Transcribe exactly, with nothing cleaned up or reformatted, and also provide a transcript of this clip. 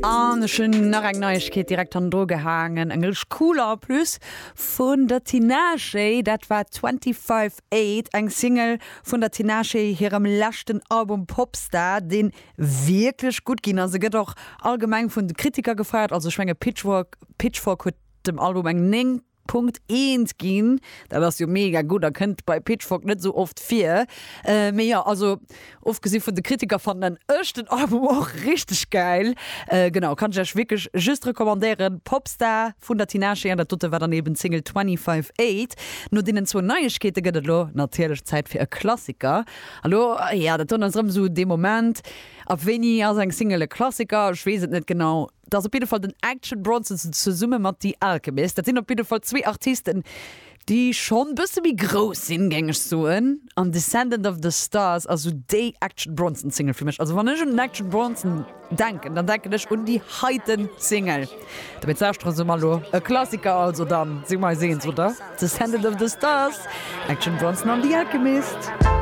An ech hunn nach eng Neiegkeet direkt hannendru gehaangen, eng richteg cool en plus vun der Tinashe, dat war Twenty Five Eight, eng Single vun der Tinashe hirem leschten Album Popstar, dee wierklech gutt ginn ass. E gëtt och allgemeng vun de Kritiker gefeiert, also ech menge Pitchfork Pitchfork huet dem Album eng néng Punkt eent ginn, dat ass jo mega gutt a kënnt bei Pitchfork net sou oft vir. Mee jo, also ofgesi vun de Kritiker fannen ech den Album och richteg gäil. Genau, kann ech iech wierklech just recommandéieren, Popstar vun der Tinashe an dat dote war dann eben d'Single Twenty Five Eight. No deenen zwou Neiegkeete gëtt et elo natierlech Zäit fir e Klassiker. A lo, jo, dat doen ass erëm sou dee Moment, ab wéini ass eng Single e Klassiker? Ech weess et net genau. Dat ass op jidde Fall den Action Bronson zesumme mat The Alchemist. Dat sinn op jidde Fall zwee Artisten, déi schonn bësse méi grouss sinn, géing ech soen. An Descendant of the Stars ass sou déi Action Bronson Single fir mech. Also wann ech un den Action Bronson denken, dann denken ech un déi heiten Single. Dobäi lauschtere se mer elo e Klassiker, also dann si mer eis eens, oder? Descendant of the Stars, Action Bronson an The Alchemist.